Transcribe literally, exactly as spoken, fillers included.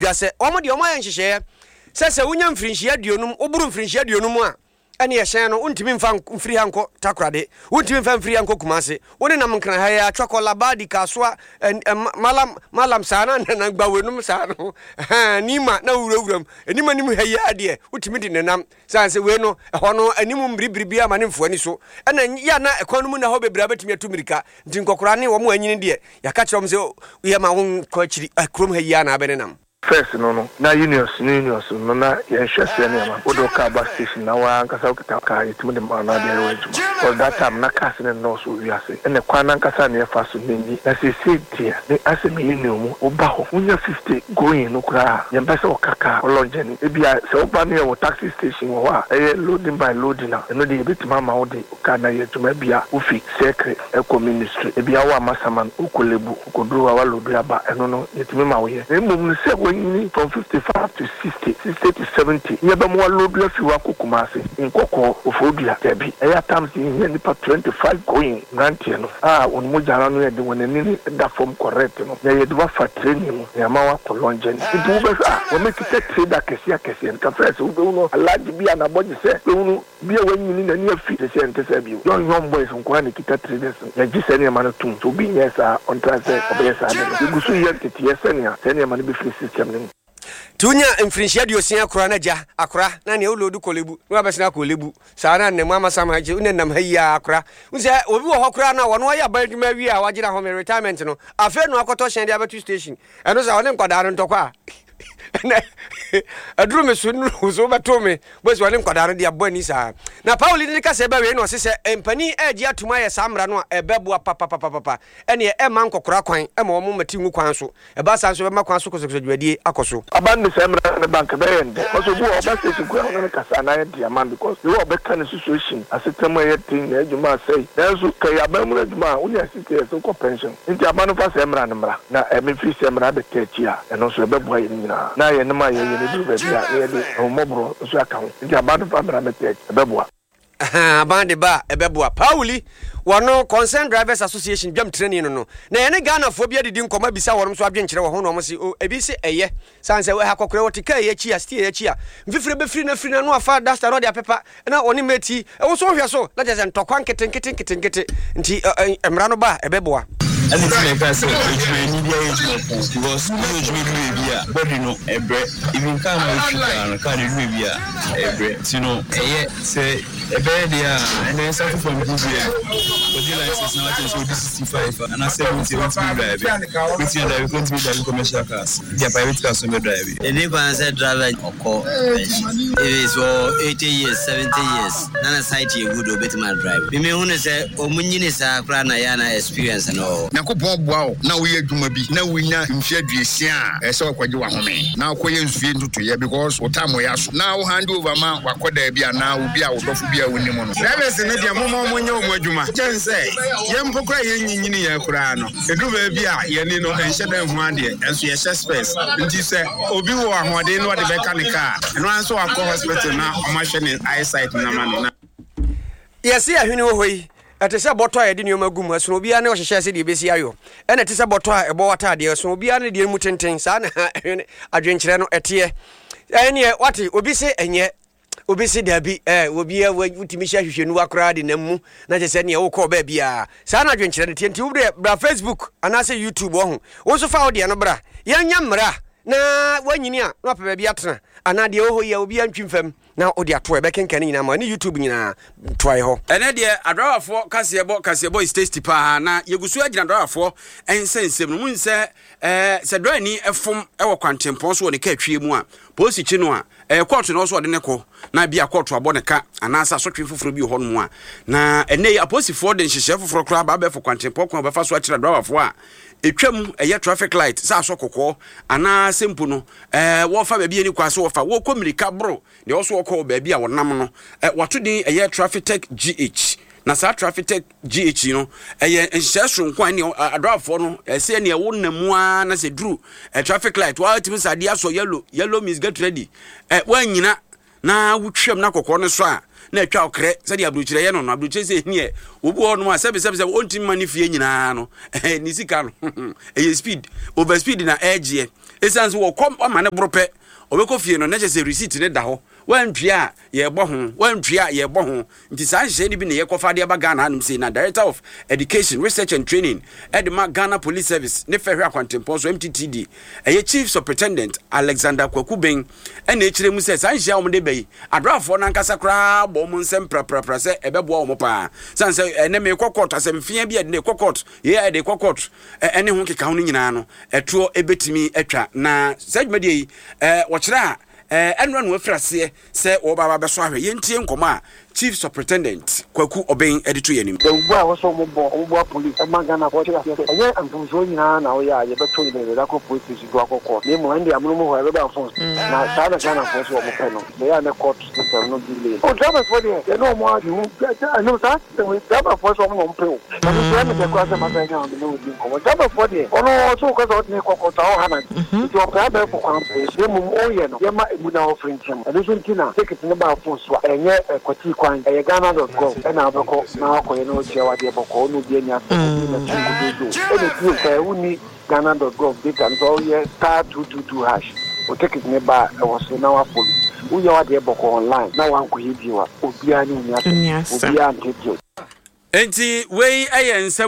dwa sɛ wɔn deɛ wɔayɛ nhyehyɛeɛ sɛ sɛ wonya mfirinhyia aduonum, woboro mfirinhyia aduonum a, ɛne ɛhyɛn no wontumi mfa mfiri ha nkɔ Takoradi, wontumi mfa mfiri ha nkɔ Kumase, wo nenam Nkran ha yi ara, Twɔkɔ, Labadi, Kasoa, Malam, Malam saa na na Gbawenum saa no, ɛhɛn, Nima na wowurawura mu, anim anim ha yi ara deɛ wotumi de nenam, sane sɛ wei no ɛhɔ no anim mmiribiri biara ma ne mfoa ani so, ɛna yɛ a na ɛkwan no mu nna hɔ bebree a wobɛtumi atu mmirika, nti nkɔkoraa ne wɔn a anyini deɛ yɛaka kyerɛ wɔn sɛ yɛma wonkɔ akyiri, kurom ha yi ara na abɛnenam. First no no na unions no unions no na yɛnhwɛ sɛ nneɛma wode wo car ba station na woara ankasa wokita car yɛtumi de ma wo na wode ayɛ w'adwuma cause that time na cars no nnɔɔso wɔ wiase ɛna kwan no ankasa a na yɛfa so no nni na seesei deɛ me asɛ me union mu woba hɔ wonya fifty going no koraa a yɛmpɛ sɛ woka car wo long journey ebia sɛ woba no yɛwɔ taxi station wɔ hɔ a ɛyɛ loading by loading a ɛno deɛ yɛbɛtumi ama wode wo car no ayɛ adwuma ebia wofi Circle ɛkɔ ministry ebia wo Amasaman wokɔ Lebu wokɔduru hɔ a woaloadu aba ɛno no yɛtumi ma woyɛ na mmom no sɛ woanyini from fifty five to sixty, sixty to seventy na yɛbɛma woaloadu afi hɔ akɔ Kumasi, Nkɔkɔɔ, Koforidua dabi ɛyɛ at times yɛhia nnipa twenty five going mmeranteɛ no a wɔn mogya no ano yɛ den wɔn ani no da fam correct no na yɛde wo afa training mu na yɛama woakɔ long journey nti wobɛhwɛ a wɔakita trade akɛseɛ akɛseɛ no ka first wobɛhunu Alhaji bi a n'abɔgyesɛ wobɛhunu Bi a wanyini n'ani afi te sɛ ɛnte saa bio. Young young boys nko ara na ɛkita traders no. Yɛgye saa nneɛma no tom. Sɛ obi nyɛɛ saa a, ɔntra sɛ ɔbɛyɛ saa ade no. Yɛgu so reyɛ nteteeɛ sɛnea saa nneɛma no bɛfiri system no mu. Nti wonya mfirinhyia aduosia akora na gya akora na nea wolodu kɔlebu na wabɛsena akɔ lebu saa na nnam ama sam ha gye wona nam ha yi a akora wo sɛ obi wɔ hɔ koraa na wɔno ayɛ aban adwuma awie a wagyina home retirement no afei na wakɔtɔ hyɛn de abɛto station ɛno sɛ ɔne nkwadaa no ntɔkwa a ɛnɛ aduru me so nnuru so wobɛto me bɛsi ɔne nkwadaa no de abɔ ani saa na Paul de ne kasa bɛwie na ɔse sɛ mpanin ɛregye atum ayɛ saa mmara no a ɛbɛboa papapapapa ɛneɛ ɛmma nkɔkora kwan ɛma wɔn mmati ngu kwan so ɛba saa nso ɛbɛma kwan so kɔsɔkɔsɔ dwumadie akɔ so. Aba no de saa mmara no ba nka ɛbɛyɛ yɛn dɛ because obi wɔ hɔ ɔba station koraa ɔne no kasa anaa yɛ de ama no because the way ɔbɛka ne situation asetena mu ɛyɛ den na adwuma asɛe nanso ka ɛyɛ aban mu no adwuma a wonya sixty years wokɔ pension. Nti aba no fa sɛɛ mmra no mmra, na ɛme firi sɛ mmra bɛtɛ akyi a, ɛno nso ɛbɛboa yɛn nyinaa, na yɛnom a yɛyɛ no ɛduru baabi a, na yɛde ahummɔborɔ nso aka ho. Nti aba no fa mmra bɛtɛ akyi, ɛbɛboa. Ahaa, aban de ba a, ɛbɛboa. Pauli, wɔno Concerned Drivers Association dwamtirani no no, na yɛne Ghanafoɔ bi adidi nkɔmmɔ abisa wɔnom nso adwenkyerɛ wɔ ho na wɔn se, oh, ebi se ɛyɛ, sane sɛ ɛha kɔkorɛ wɔte kaa yi akyi a, steer yi akyi a, mfifire bɛfiri no afiri no ano afa duster na ɔde apepa, na ɔne mate yi, wo nso wohwɛ so, na kyerɛ sɛ ntɔkwa nketenkete nketenkete, nti mmara no ba a, ɛbɛboa. Ɛna nti na ɛka sɛ adwumayɛni biara yɛ adwuma ko because woyɛ adwuma du baabi a body no ɛbrɛ even car no a wotwi koraa no car no ɛdu baabi a ɛbrɛ nti no ɛyɛ sɛ ɛbɛyɛ deɛ a ɛnɛ nsa to fam group yɛ kɔgye license na wakyerɛ sɛ ɔdi sixty five anaa seventy a wontumi drive wobɛtumi adrive kɔ ntumi drive commercial cars deɛ private cars no bɛ drive. Ɛnni kwan sɛ driver ɔkɔ pension if it's wɔ eighty years seventy years na ne sight yɛ good a obetumi a drive. Me me hu no sɛ ɔmo nyini saa koraa na yɛ a na experience no wɔ hɔ. Nyankopɔn boa wo na woyɛ adwuma bi na wonya mfe aduosia a, ɛsɛ sɛ wokɔgye w'ahome na wokɔyɛ nsuo ntotoeɛ because wo time yɛ aso na wo hand over ma w'akɔdaa bi anaa obi a wo dɔfo bi a wonim no. Drivers no deɛ momma wɔn nyɛ wɔn adwuma kyɛn sɛ yɛn mpo koraa yɛn nyinyini yɛn koraa no ɛduru baabi a yɛn ani no nhyɛ da nhu adeɛ nso yɛhyɛ specs nti sɛ obi wɔ ahoɔden na ɔde bɛka ne kaa ɛno ara nso wakɔ hospital na wɔahwɛ ne eyesight no ama no na. Yɛse ahwene wɔ hɔ yi, ɛte sɛ bɔtɔ a yɛde nneɛma gu mu, ɛsono obiara ne ɔhyehyɛ sɛdeɛ ɛbɛsi ayɔ. Ɛna ɛte sɛ bɔtɔ a ɛbɔ w'ataadeɛ, ɛsono obiara ne deɛ mu tenten. Saa na ahwene adwenkyerɛ no ɛteɛ. Ɛneɛ wate, obi se ɛnyɛ, obi se daabi, ɛɛ obi a wotumi hyɛ ahwehwɛniwa koraa de nam mu na kyerɛ sɛ neɛ wokɔɔ baabiara. Saa na adwenkyerɛ no teɛ. Nti wo deɛ bra Facebook anaasɛ YouTube ɔho, wo nso fa wo deɛ no bra. Yɛnyɛ mmara na woanyini a na wapɛ baabi atena anaa deɛ ɛwɔ hɔ yi a obiara ntwi mfam. Na wode ato a ɛbɛkenkan ne nyinaa ma ne YouTube nyinaa toae hɔ. Ɛnɛ deɛ adrawafoɔ kaseɛbɔ kaseɛbɔ is tasty paa na yɛgu so agyina adrawafoɔ nsɛnsɛm no mu nsɛ ɛɛ sɛ drani fom wɔ kwantempɔn so wɔ ne kaa twie mu a polisi kyi no a ɛyɛ kɔɔto na ɔso ɔde ne kɔ na bi a kɔɔto abɔ ne ka anaasɛ asotwe foforɔ bi wɔ hɔ nom a na ɛnɛ yi apolisifoɔ de nhyehyɛɛ foforɔ koraa ba abɛɛfo kwantempɔn kwan a wɔbɛfa so akyerɛ adrawafoɔ a ɛtwam ɛyɛ traffic light sɛ asɔ kɔkɔɔ anaasɛ mpo no ɛɛ wɔfa baabi ani kwa so wɔfa wɔkɔ mmirika boro deɛ ɔso wɔkɔ wɔ baabi a wɔnam no ɛ wɔato din ɛyɛ traffic tech G H na saa traffic tech G H no ɛyɛ nhyehyɛe soronko a ɛne adrafoɔ no ɛsɛ ɛne ɛwo nam mu ara na sɛ duru ɛ traffic light wɔatumi sɛ adeɛ asɔ yellow, yellow means get ready, ɛ wɔanyina na wotwam na kɔkɔɔ no so a na atwa ɔkrɛ sɛdeɛ aburokyerɛ yɛ no no aburokyerɛ sɛ neɛ obi wɔ hɔnom a sɛbi sɛbi sɛbi ɔntumi ma ne fie nyinaa no ne sika no ɛyɛ speed over speed na ɛgyeɛ. Ɛsiane sɛ wɔkɔ ama ne boro pɛ, ɔbɛkɔ fie no na kyerɛ sɛ receipt ne da hɔ, wantua a yɛbɔ ho, wantua a yɛbɔ ho. Nti saa nhyehyɛ no bi na yɛkɔfa de aba Ghana hanom sei. Na Director of Education, Research and Training ɛde ma Ghana Police Service ne fɛhwɛ akwantempɔn so, M T T D, ɛyɛ Chief Superintendent Alexander Kwaku Ben, ɛna ɛkyerɛ mu sɛ saa nhyia a wɔde ba yi, adrafoɔ no ankasa koraa bɔ wɔn nsɛm praprapra sɛ ɛbɛboa wɔn paa, sane sɛ ɛnɛ mekɔ court, asɛmfia bi a ɛde kɔ court, yɛ ɛde kɔ court, ɛne ho keka ho no nyinaa no, ɛtoɔ ɛbɛtumi atwa. Na saa dwumadie yi, ɛɛ wɔkyerɛ a ɛnora no afiri aseɛ sɛ wɔba ba bɛso ahwɛ. Yɛntie nkɔmmɔ a Chief Superintendent Kwaku Ɔbɛn de to yɛn anim. Dawubu a wɔsɔ wɔn bɔ wɔn boa police ɛma Ghana fɔ kyerɛ aseɛ sɛ ɛnyɛ mfomsoɔ nyinaa na wɔyɛ a yɛbɛto yɛn yɛde akɔ police station so akɔ court, na emu ɛnde amono mu hɔ ɛbɛba phone na saa na Ghana fɔ so wɔn pɛ no bɛyɛ a ne court system no delay o. Drivers fɔ deɛ, yɛne wɔn adi ho ɛnum saa system yi, driver fɔ so wɔn na wɔn pɛ o. Na mi nso ɛmi dɛ kora sɛ masa nya wɔn ne wɔn di nkɔmɔ. Driver fɔ deɛ, ɔno ɔso kɔ sɛ ɔde ne kɔ court a ɔha na nti ɔpɛ abɛɛfo kwan pɛ, na mmom ɔyɛ no yɛma emu na ɔfiri nkyɛn. Ɛno nso nti na ticket ne ba phone so a ɛnyɛ ɛkɔti kwan, ɛyɛ ghana dot gov ɛna wobɛkɔ na wakɔyɛ na ɔtua wadeɛ bɔkɔ, ɔne obi ani asɛ obi na tu nkototo. Ɛna bio, sɛ wonni ghana dot gov data no so, ɔyɛ star two two two hash, o ticket ne ba a ɛwɔ so na wafolo, woyɛ wadeɛ bɔkɔ online na wankɔyɛ bio a, obiara ne onni asɛm, obiara ntetew. Enti wei yɛ nsɛm.